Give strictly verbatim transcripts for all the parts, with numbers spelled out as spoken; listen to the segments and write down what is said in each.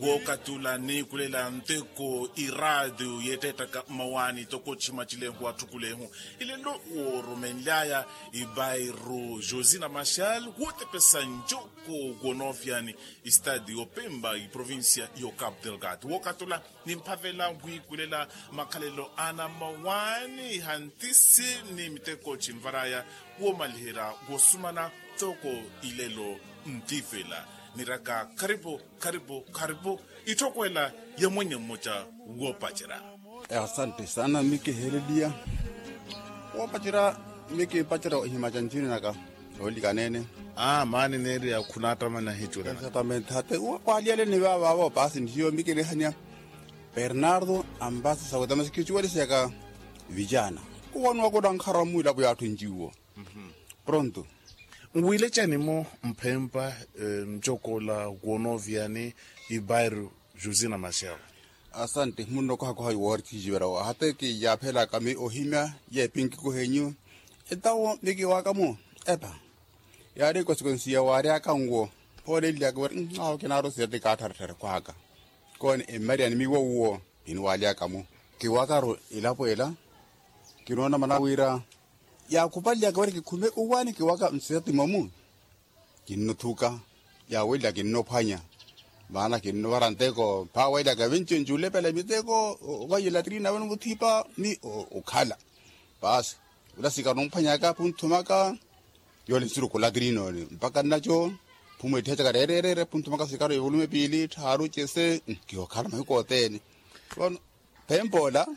Wookatula niikulela nteko iraatiyo yeetteettaka mmawaani toko chimachilehu atthukulehu. Ilelo woorumenly'aya ibairu josina machal wootepesa ncoko, wonoofyani istadi yopemba iprovincia yo capu delgado wookatula nimphavela wiikulela makhalelo ana mmawaani hantisi ni miteko chinvar'aya woomaliherya woosumana. Toko ilelo ntifela niraka kharipu kharipu kharipu. Itthokwela ya mwenye mmoja woopacerya. Asante sana mi kiheleliya woopacerya mi kimpacerya ohimaca ncini naka oolikaneene. Aa maani neeriya khunattamana hicuwela exatamente hate kwaaliyaleni vaavaavo paasi ntiyo mi kinihanya bernardo ambasi saweta masi kicuwelisyaka vijana kuwanuwa kuna nkhara mwilapo yaatthu njiwo. Pronto. Nwilecani-mo mphempa ncokola wonooviyani ibairu josina machel. Asante munno kohakoha iwoori tijivera wo hata kiyaphelaka mi ohimya yeepinkiko henyu etawo mi kiwaka-mo epa yaari ekosikonsiya waaryaka nwo. Oolellyaka wira awo kinaarusiya ti kaattharatthara kwaka kooni emmariyani miwo uwo kinwalyaka-mo kiwakaru elapo ela kinoona mana wira yaakhupalyaka wira kikhume uwaani kiwaka nsisatima-mu. Kinnothuka yaawelya kinnophwanya maana kinnovara nteko mphaawelyaka vinci nculepela miteko vaiya latrina vano vuthipa ni okhala paasi. Ola sikari nomphwanyaka phunthumaka yoole nsiruku latrina ole mpaka nnaco phumwetthiyacaka reereereere phunthumaka sikari yovulume piili tthaaru cese. Kihookhala mahiku othene vano phempa ola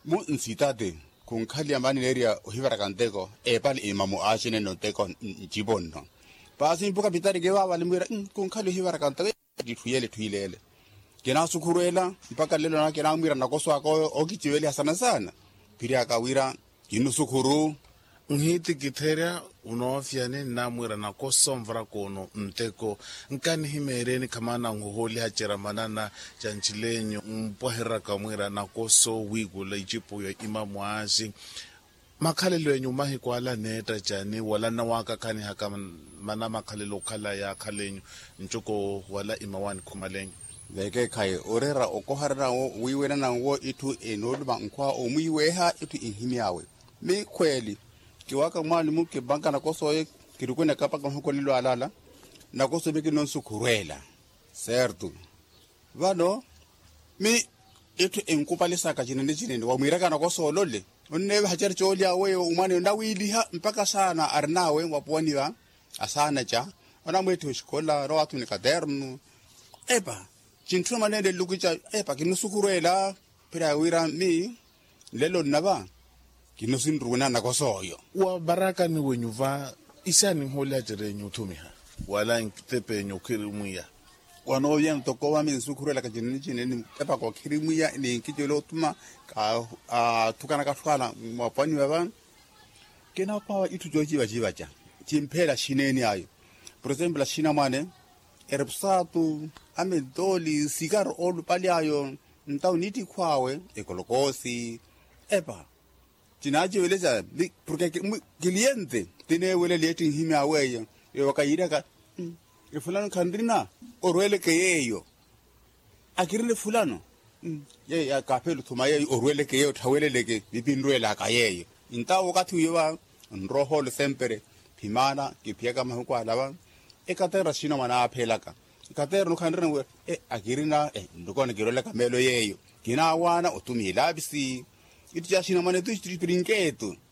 mu nsitate khunkhaliya maani neeriya ohivaraka nteko eepale imamu aaxinene onteko ncipo nno. Paasi mpuka pitari kivaavale mwiira khunkhaliya ohivaraka nteko kitthu yeele etthu ileele. Kinaasukhurwela mpaka nlelo nana kinaamwiira nakoso aka oyo ookiciveliha sana sana phiriyaka wira kinnusukhuru. Nhitikitherya unoofyani nnamwiira nakoso nvarakoono nteko nkanihimeeryeni khamana nhohooliha cera manana ca ncilenyu mpwahereraka mwiira nakoso wiikula icipo ya imamu aaxi. Makhalelo enyu mahiku ala neetta cani wala nnawakakanihaka mana makhalelo okhala yaakhalenyu ncoko wala imawaani khumalenyu. Vekeekhayi oreera okoharana wo wiiwena nanwo itthu enooluma nkhwa omwiiweeha itthu inhimy'awe. Mikhweeli kiwaka mwaani-mu kimpanka nakoso oyo kirikuneka mpaka mahuku alelo alaala nakoso mikinonsukhurweela. Serto vano mi itthu enkupalisaka cinene cinene wamwiiraka nakoso olole onneevaha cari coolya weyo omwaneyo nawiiliha mpaka saana arin'awe wapuwaniwa asaana ca onamweettiha oxikola rowaathu ni katernu. Epa cintthuna mwaneene nluku ica epa kinnusukhurweela phiraya wira mi nlelo nnava kinnusinruwina nakoso oyo. Wa varakani wenyu va isaani nhoolya cerenyu othumiha wala ntepe enyu okhirimwiya. Wanooviyana toko vami nsukhurwelaka cinene cinene epaka okhirimwiya ni nkicela othuma athukanaka atthu ala mwapwaniwa va. Kinapawa itthu coocivacivaca cimpheela axineeny'ayo. Por exemplo axinamwane erepusatu amentoli sikari oolupali ayo ntawo nittikhw'awe ekolokoosi. Epa cinaacivelesya porke kiliyente tineewelela etti nhimy'awe eyo. Eyo wakayiiryaka efulano khanrina orweleke yeeyo akirina efulano. Yeeyo kaapheela othuma yeeyo orweleke yeeyo tthaweleleke vipinrwelaka yeeyo. Ntawo wakathi wiiwa nrohoolo sempere phimana kiphiyaka mahiku ala va ekaterra xina mwana aapheelaka ekaterra nukhanrina wira akirina nlukona kirolaka meelo yeeyo kinaawaana otumiha ilaapisi. Ittu caxina mwana etu xipirinkeetu